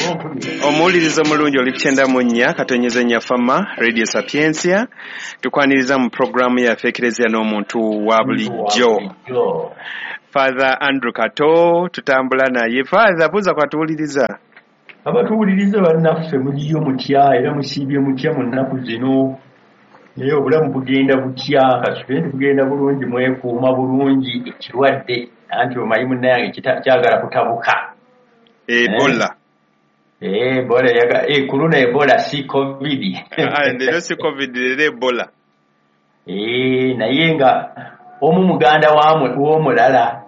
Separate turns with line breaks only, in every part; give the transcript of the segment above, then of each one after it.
Omuwuliriza omulungi oli ku 94.4 Fama Radio Sapientia, tukwaniriza mu puroguramu yaffe Ekereziya n'omuntu wa bulijjo. Father Andrew Kato tutambula naye. Father, buuza kwatuwuliriza.
Abatuwuliriza bannaffe, muliyo mutya era musiibye mutya mu nnaku zino? Naye obulamu bugenda butya? Kasubire nti bugenda bulungi, mwekuuma bulungi ekirwadde, anti omanyi munnayange kyagala kutabuka.
Ebola.
Ebola kuluna Ebola si COVID.
Leero si COVID, leero Ebola.
Naye nga omu muganda w'omulala,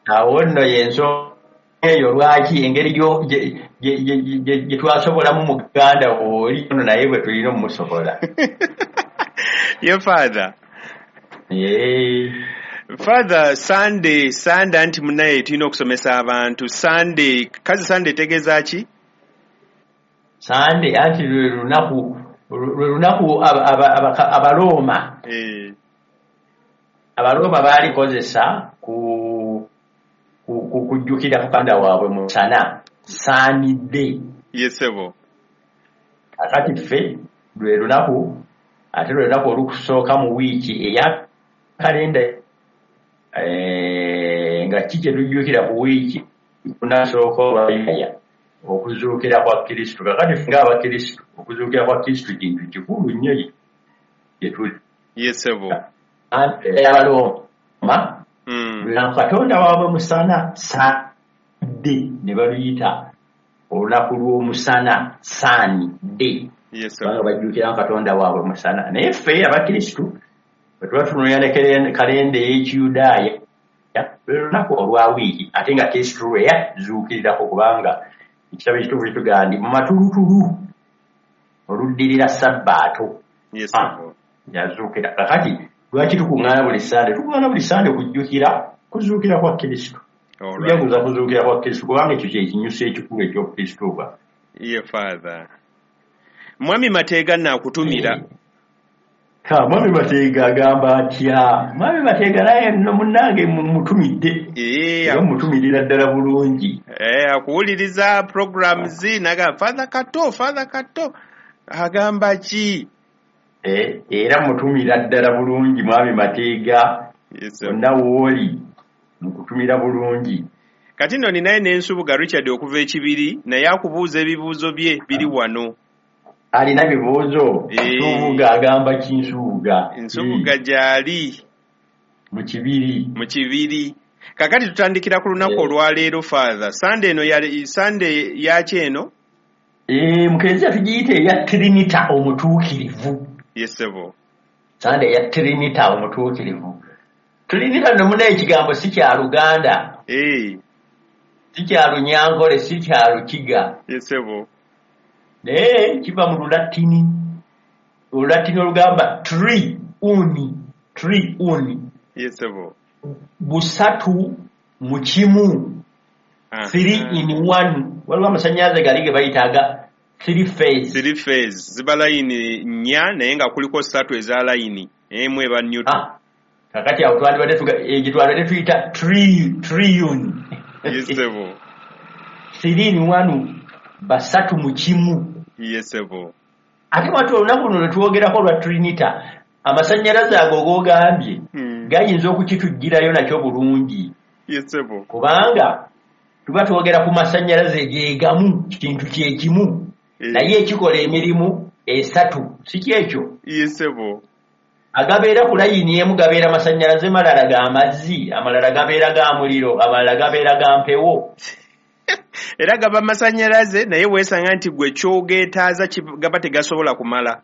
awo nno y'ensonga eyo lwaki engeri gye twasobolamu muganda oli ono naye bwe tulina omumusobola.
Ye Father. Father, Sunday anti munaye tulina okusomesa abantu. Sunday, kazi Sunday etegeeza ki?
Sunday anti lwe lunaku Abarooma. Abarooma baalikozesa kujjukira mukanda waabwe musana, Sunday.
Yesebo.
Akati ffe lwe lunaku, ate lwe lunaku olukusooka mu wiiki eya kalenda, nga ki kye tujjukira ku wiiki lunasooka olwaya okuzuukira kwa Kristo. Kakati ffe ng'Abakristo okuzuukira kwa Kristo kintu kikulu nnyo gye tuli.
Yesebo.
Abarooma Katonda waabwe musana, Sunday, ne baluyita olunaku lw'omusana, Sunday. Kubanga bajjukira Katonda waabwe musana. Naye ffe Abakristo bwe tuba tunoonya ne kalenda ey'Ekiyudaaya, lwe lunaku olwa wiiki, ate nga Kristo lwe yazuukirirako, kubanga ekitabo ekitukuvu kitugamba nti mu matulutulu oluddirira Sabbaato yazuukira. Kakati lwaki tukuŋŋaana buli Sande? Tukuŋŋaana buli Sande kujjukira kuzuukira kwa Kristo. Kujaguza kuzuukira kwa Kristo, kubanga ekyo kye kinyusi ekikulu eky'Okristo bwaffe.
Ye Father. Mwami Mateega naakutumira.
Mwami Mateega agamba atya? Mwami Mateega naye nno munnange mutumidde. Era mutumirira ddala bulungi.
Akuwuliriza programs n'agamba Father Kato, Father Kato agamba ki?
Era mutumira ddala bulungi Mwami Mateega, onna wooli mukutumira bulungi.
Kati nno ninaye n'Ensubuga Richard okuva Ekibiri, naye akubuuza ebibuuzo bye biri wano.
Alina bibuuzo? Nsubuga agamba ki Nsubuga?
Nsubuga gy'ali
mu Kibiri.
Mu Kibiri. Kakati tutandikira ku lunaku olwaleero Father. Sunday eno Sunday yaki eno?
Mu Kereziya tugiyita eya Trinita omutuukirivu.
Yesebo.
Sunday eya Trinita omutuukirivu. Trinita nno munaye ekigambo si kya Luganda. Si kya Lunyankole, si kya Lukiga.
Yesebo.
Naye kiva mu Lulatini. Olulatini olugamba tri uni, tri uni.
Yesebo.
Busatu mu kimu. 3 in 1. Waliwo amasannyalaze gali ge bayita aga 3 phase.
3 phase. Ziba layini nnya naye nga kuliko 3 eza layini. Emu eba neutral.
Kakati awo twandibadde tuyita triune.
Yesebo.
3 in 1, basatu mu kimu.
Yesebo.
Ate watu olunaku luno lwe twogerako lwa Trinita, amasannyalaze ago g'ogambye gayinza okukitugirayo nakyo bulungi.
Yesebo.
Kubanga tuba twogera ku masannyalaze gegamu, kintu kyekimu, naye ekikola emirimu 3, si kyekyo?
Yesebo.
Agabeera ku layini emu gabeera masannyalaze malala ga mazzi, amalala gabeera ga muliro, amalala gabeera ga mpewo.
Era gaba masannyalaze naye weesanga nti gwe kyogeetaaza gaba tegasobola kumala.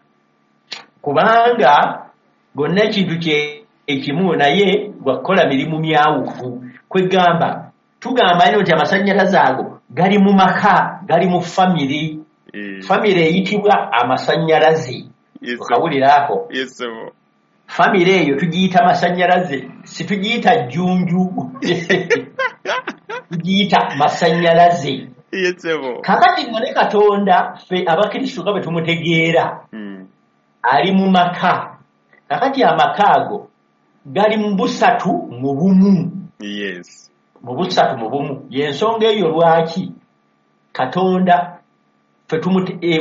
Kubanga gonna ekintu kyekimu naye gwakukola mirimu myawufu. Kwegamba tugamba nnyo nti amasannyalaze ago gali mu maka, gali mu famire. Famire eyitibwa amasannyalaze. Okawulira ako? Famire eyo tugiyita masannyalaze, si tugiyita jjunju. Tugiyita masannyalaze. Kakati nno ne Katonda ffe Abakristo nga bwe tumutegeera ali mu maka. Kakati amaka ago gali mu busatu mu bumu. Mu busatu mu bumu. Y'ensonga eyo lwaki Katonda ffe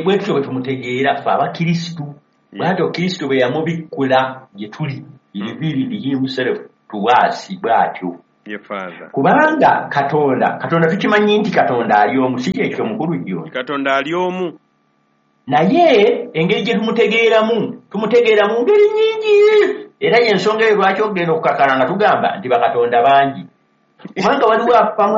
bwe tutyo bwe tumutegeera ffe Abakristu. Bw'atyo Kristo bwe yamubikkula gye tuli, he revealed himself to us bw'atyo. Kubanga Katonda tukimanyi nti Katonda ali omu, si kyekyo mukulu jjo?
Katonda ali omu.
Naye engeri gye tumutegeeramu, tumutegeera mu ngeri nnyingi. Era y'ensonga eyo lwaki okugenda okukakala nga tugamba nti bakatonda bangi. Kubanga waliwo abamu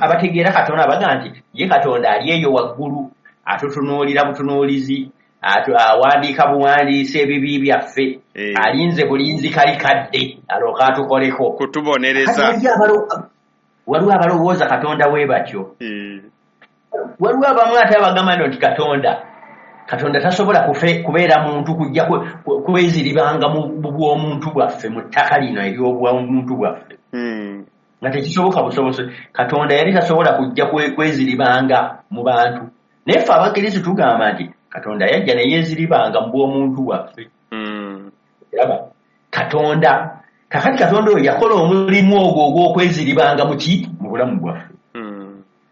abategeera Katonda abagamba nti ye Katonda ali eyo waggulu, atutunuulira butunuulizi, awandiika buwandiisi ebibi byaffe, alinze bulinzi kali kadde alooke atukoleko.
Kutubonereza.
Waliwo abalowooza Katonda we batyo. Waliwo abamu ate abagamba nti Katonda tasobola kubeera muntu kujja kweziribanga mu bw'omuntu bwaffe, mu ttaka lino ery'obw'omuntu bwaffe. Nga tekisoboka busobozi. Katonda yali tasobola kujja kweziribanga mu bantu. Naye ffe Abakristo tugamba nti Katonda yajja ne yeeziribanga mu bw'omuntu bwaffe. Olaba? Katonda kakati Katonda oyo yakola omulimu ogwo ogw'okweziribanga mu ki? Mu bulamu bwaffe.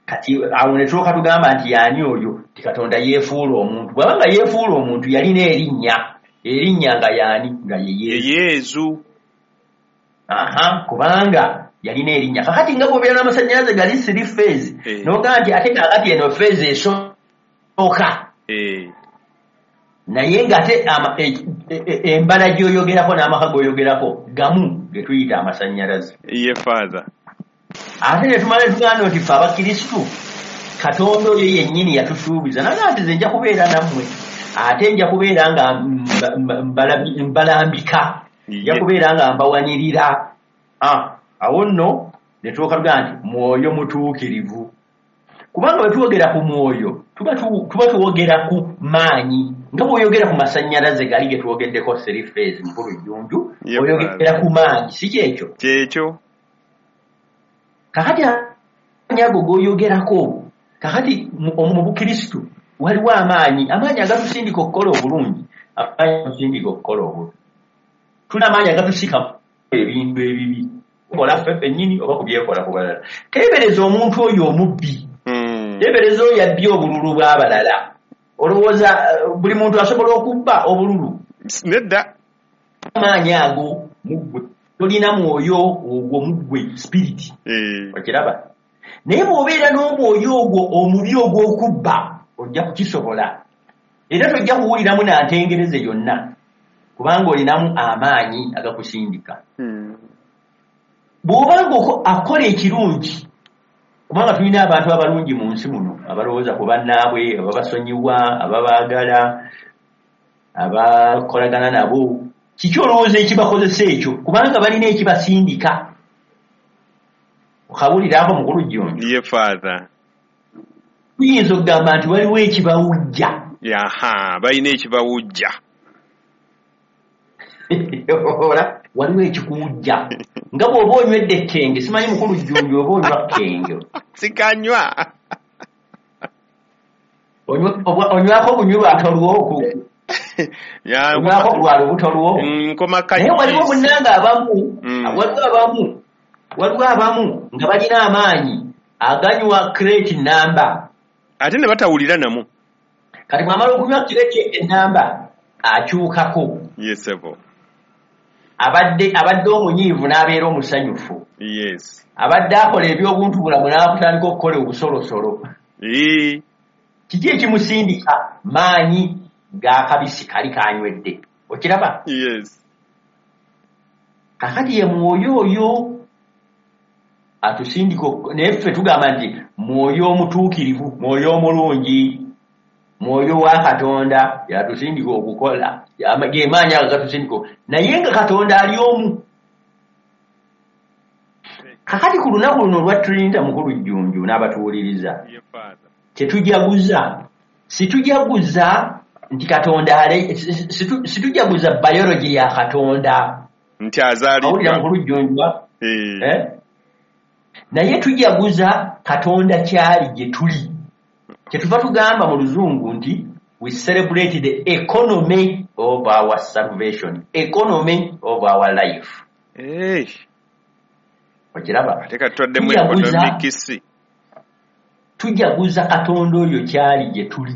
Kati awo ne tulyoka tugamba nti y'ani oyo? Nti Katonda yeefuula omuntu. Bw'aba nga yeefuula omuntu yalina erinnya. Erinnya nga y'ani? Nga ye Yesu. Aha, kubanga yalina erinnya. Kakati nga bw'obeera n'amasannyalaze gali three phase, n'ogamba nti ate kaakati eno phase esooka. Naye ng'ate embala gy'oyogerako n'amaka g'oyogerako gamu ge tuyita amasannyalaze.
Ye Father.
Ate ne tumala tugamba nti ffe Abakristu Katonda oyo yennyini yatusuubiza n'agamba nti nze nja kubeera nammwe, ate nja kubeera nga mbalambika, nja kubeera nga mbawanirira. Awo nno ne tulyoka tugamba nti mwoyo mutuukirivu. Kubanga bwe twogera ku mwoyo tuba twogera ku maanyi. Nga bw'oyogera ku masannyalaze gali ge twogeddeko three phase mukulu Jjunju, oyogera ku maanyi, si kyekyo?
Kyekyo.
Kakati amaanyi ago g'oyogerako, kakati mu Bukristu waliwo amaanyi agatusindika okukola obulungi, amaanyi agatusindika okukola obubi. Tulina amaanyi agatusika ebintu ebibi, kola ffe ffennyini oba kubyekola ku balala. Teebereza omuntu oyo omubbi. Teebereza oyo abbye obululu bw'abalala. Olowooza buli muntu asobola okubba obululu?
Nedda.
Amaanyi ago mu ggwe. Tolina mwoyo ogwo mu ggwe, spirit. Okiraba? Naye bw'obeera n'omwoyo ogwo omubi ogw'okubba, ojja kukisobola. Era tojja kuwuliramu na ntengereze yonna, kubanga olinamu amaanyi agakusindika. Bw'oba ng'akola ekirungi, kubanga tulina abantu abalungi mu nsi muno, abalowooza ku bannaabwe, ababasonyiwa, ababaagala, abakolagana nabo. Kiki olowooza ekibakozesa ekyo? Kubanga balina ekibasindika. Okawulirako mukulu Jjunju?
Ye Father.
Tuyinza okugamba nti waliwo ekibawujja.
Aha, balina ekibawujja.
Waliwo ekikuwujja. Nga bw'oba onywedde ekkenge, simanyi mukulu Jjunju oba onywa kkenge.
Sikanywa.
Onywako bunywi lwatolwo. Onywako lwa lubuto lwo. Naye waliwo munnange abamu, waliwo abamu nga balina amaanyi aganywa crate namba.
Ate ne batawulira namu.
Kati bw'amala okunywa crate enamba akyukako.
Yes, sir.
Abadde omunyiivu n'abeera omusanyufu.
Yes.
Abadde akola eby'obuntu bulamu n'atandika okukola obusolosolo. Kiki ekimusindika? Maanyi g'akabisi kali kanywedde. Okiraba?
Yes.
Kakati ye mwoyo oyo atusindika, naye ffe tugamba nti mwoyo omutuukirivu, mwoyo omulungi, mwoyo wa Katonda yatusindika okukola, ge maanyi ago gatusindika. Naye nga Katonda ali omu. Kakati ku lunaku luno olwa Trinity mukulu Jjunju n'abatuwuliriza, kyetujaguza, situjaguza nti Katonda situjaguza biology ya Katonda
nti azaalibwa.
Awulira mukulu Jjunju? Naye tujaguza Katonda kyali gye tuli. Kyetuva tugamba mu Luzungu nti we celebrate the economy of our salvation, economy of our life. Okiraba?
Ate katwaddemu economics.
Tujaguza Katonda oyo kyali gye tuli.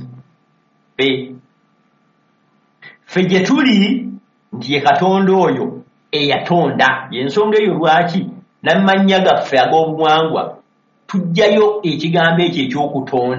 Ffe gye tuli nti ye Katonda oyo eyatonda. Y'ensonga eyo lwaki n'amannya gaffe ag'obuwangwa tujjayo ekigambo ekyo eky'okutonda.